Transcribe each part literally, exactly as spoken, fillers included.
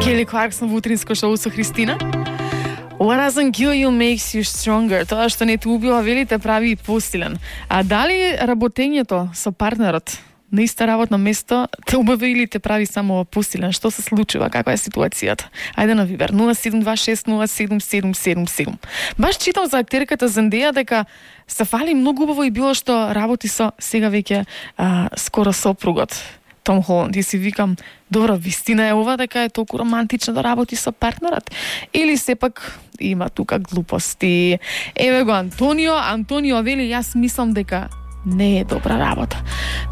Кели Кларксон во утринско шоу со Христина. What doesn't kill you makes you stronger. Тоа што не те убива, вели, те прави посилен. А дали работењето со партнерот на иста работно место те убава или те прави само посилен? Што се случува? Каква е ситуацијата? Ајде на Вибер нула седум два шест нула седум седум седум седум. Баш читам за актерката Зендеја дека се фали многу убаво и било што работи со сега веќе а, скоро сопругот Том Холанд. И си викам, добро, вистина е ова дека е толку романтично да работи со партнерот? Или сепак има тука глупости? Еве го Антонио. Антонио вели, јас мислам дека не е добра работа.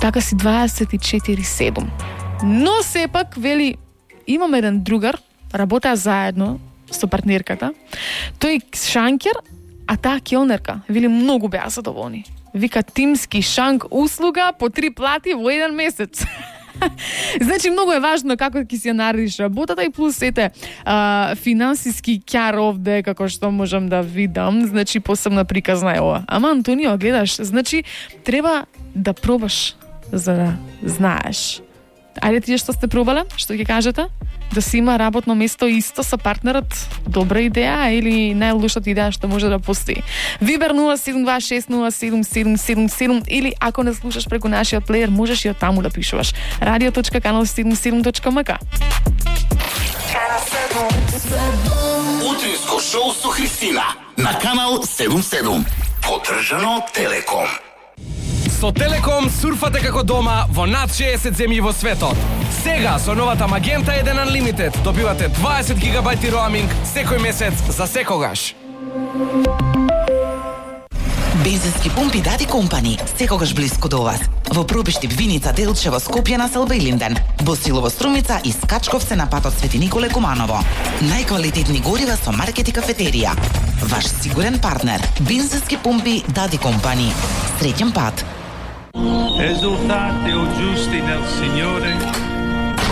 Така си дваесет и четири седум. Но сепак, вели, имам еден другар, работеа заедно со партнерката. Тој шанкер, а таа келнерка. Вели, многу беа задоволни. Вика, тимски шанк услуга по три плати во еден месец. Значи, многу е важно како ќе си ја наредиш работата и плюс ете а, финансиски кјар овде, како што можам да видам, значи посебна приказна е ова. Ама, Антонио, гледаш, значи, треба да пробаш за да знаеш. Ајде тие што сте пробале, што ќе кажете? Да си има работно место исто со партнерот, добра идеја или најлошата идеја што може да постои. Вибер нула седум два шест нула седум седум седум седум или ако не слушаш преку нашиот плеер, можеш и од таму да пишуваш. радио точка канал седумдесет и седум точка ем ка. Утринско шоу со Христина на канал седумдесет и седум. Поддржано од Телеком. Со Телеком сурфате како дома во над шеесет земји во светот. Сега со новата Magenta еден Unlimited добивате дваесет гигабајти роаминг секој месец за секогаш. Бензински пумпи Дади Компани, секогаш блиску до вас. Во Пробиштип, Виница, Делчево, Скопје, Населба и Линден. Босилово, Струмица и Скачковце на патот Свети Николе Куманово. Најквалитетни горива со маркет и кафетерија. Ваш сигурен партнер. Бензински пумпи Дади Компани. Среќен пат. Esultate o giusti nel Signore